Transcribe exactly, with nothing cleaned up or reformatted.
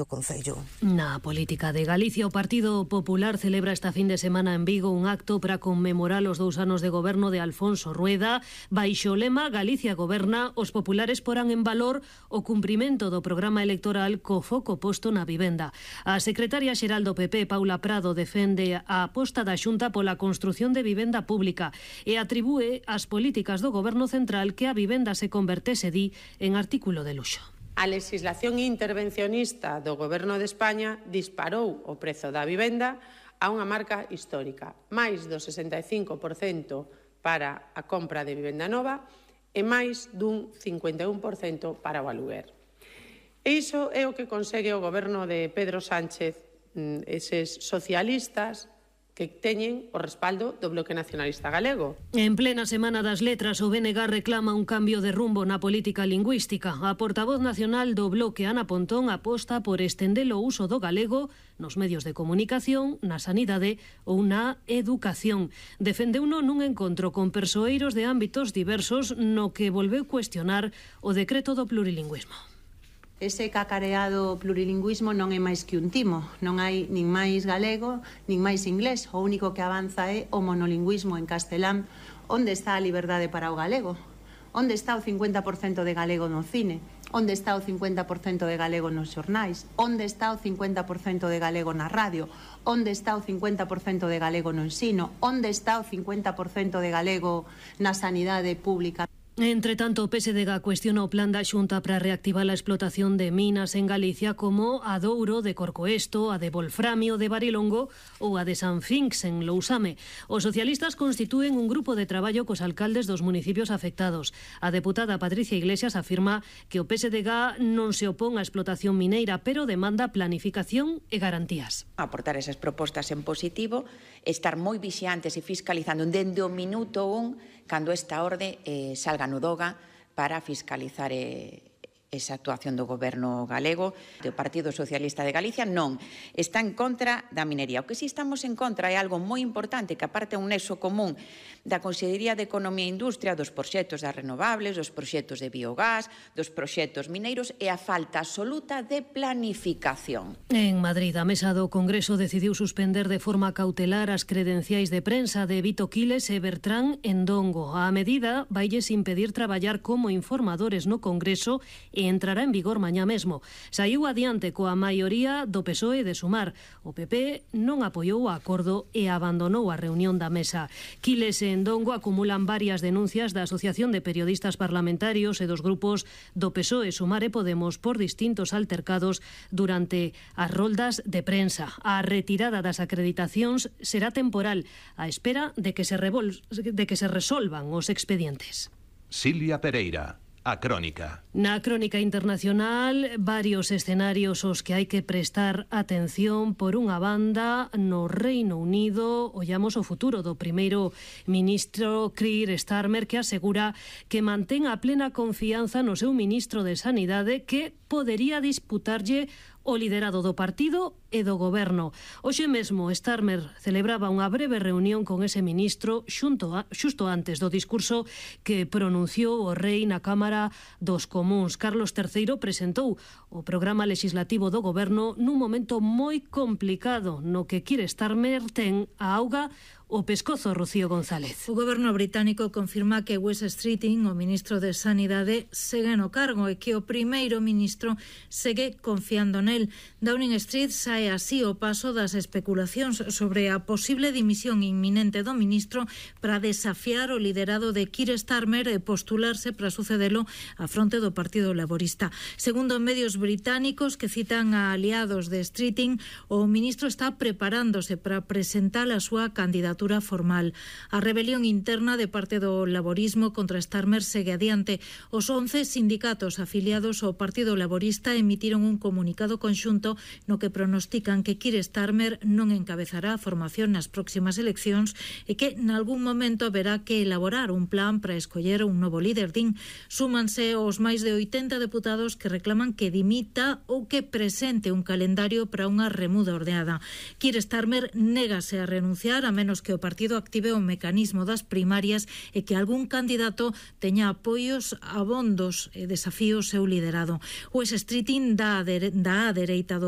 o Concello. Na política de Galicia, o Partido Popular celebra esta fin de semana en Vigo un acto para conmemorar os dous anos de goberno de Alfonso Rueda. Baixo o lema Galicia goberna, os populares porán en valor o cumprimento do programa electoral co foco posto na vivenda. A secretaria xeral do P P, Paula Prado, defende a aposta da Xunta pola construción de vivenda pública e atribúe as políticas do goberno central que a vivenda se convertese, di, en artículo de luxo. A legislación intervencionista do Goberno de España disparou o prezo da vivenda a unha marca histórica, máis do sesenta e cinco por cento para a compra de vivenda nova e máis dun cincuenta e un por cento para o aluguer. E iso é o que consegue o Goberno de Pedro Sánchez, eses socialistas que teñen o respaldo do Bloque Nacionalista Galego. En plena Semana das Letras, o B N G reclama un cambio de rumbo na política lingüística. A portavoz nacional do Bloque, Ana Pontón, aposta por estender o uso do galego nos medios de comunicación, na sanidade ou na educación. Defendeuno nun encontro con persoeiros de ámbitos diversos no que volveu cuestionar o decreto do plurilingüismo. Ese cacareado plurilingüismo non é máis que un timo. Non hai nin máis galego, nin máis inglés. O único que avanza é o monolingüismo en castelán. Onde está a liberdade para o galego? Onde está o cincuenta por cento de galego no cine? Onde está o cincuenta por cento de galego nos xornais? Onde está o cincuenta por cento de galego na radio? Onde está o cincuenta por cento de galego no ensino? Onde está o cincuenta por cento de galego na sanidade pública? Entre tanto, o P S D G cuestiona o plan da Xunta para reactivar a explotación de minas en Galicia como a Douro, de Corcoesto, a de Volframio, de Barilongo ou a de San Finx, en Lousame. Os socialistas constitúen un grupo de traballo cos alcaldes dos municipios afectados. A deputada Patricia Iglesias afirma que o P S D G non se opón á explotación mineira, pero demanda planificación e garantías. Aportar esas propostas en positivo, estar moi vixiantes e fiscalizando dende o minuto un cando esta orde eh, salga no DOGA para fiscalizar eh, esa actuación do goberno galego. O Partido Socialista de Galicia non está en contra da minería. O que si estamos en contra é algo moi importante, que aparte é un nexo común da Consellería de Economía e Industria, dos proxectos das renovables, dos proxectos de biogás, dos proxectos mineiros e a falta absoluta de planificación. En Madrid, a mesa do Congreso decidiu suspender de forma cautelar as credenciais de prensa de Vito Quiles e Bertrán Endongo. A medida vailles impedir traballar como informadores no Congreso e entrará en vigor mañá mesmo. Saiu adiante coa maioría do P S O E de Sumar. O P P non apoiou o acordo e abandonou a reunión da mesa. Quiles e Endongo acumulan varias denuncias da Asociación de Periodistas Parlamentarios e dos grupos do P S O E, Sumar e Podemos por distintos altercados durante as roldas de prensa. A retirada das acreditacións será temporal, á espera de que se, revol... de que se resolvan os expedientes. Silvia Pereira. A crónica. Na crónica internacional, varios escenarios aos que hai que prestar atención. Por unha banda, no Reino Unido, ollamos o futuro do primeiro ministro Keir Starmer, que asegura que mantén a plena confianza no seu ministro de Sanidade, que podería disputarlle o liderado do partido e do goberno. Hoxe mesmo Starmer celebraba unha breve reunión con ese ministro xunto a, xusto antes do discurso que pronunciou o rei na Cámara dos Comúns. Carlos terceiro presentou o programa legislativo do goberno nun momento moi complicado no que Keir Starmer ten a auga o pescozo, Rocío González. O goberno británico confirma que Wes Streeting, o ministro de Sanidade, segue no cargo e que o primeiro ministro segue confiando nel. Downing Street sae así o paso das especulacións sobre a posible dimisión inminente do ministro para desafiar o liderado de Keir Starmer e postularse para sucedelo á fronte do Partido Laborista. Segundo medios británicos que citan a aliados de Streeting, o ministro está preparándose para presentar a súa candidatura formal. A rebelión interna de parte do laborismo contra Starmer segue adiante. Os once sindicatos afiliados ao Partido Laborista emitiron un comunicado conxunto no que pronostican que Keir Starmer non encabezará a formación nas próximas eleccións e que nalgún momento haberá que elaborar un plan para escoller un novo líder. Din, súmanse os máis de oitenta deputados que reclaman que dimita ou que presente un calendario para unha remuda ordeada. Keir Starmer négase a renunciar a menos que que o partido active o mecanismo das primarias e que algún candidato teña apoios abondos e desafío o seu liderado. O Streeting dá a dereita do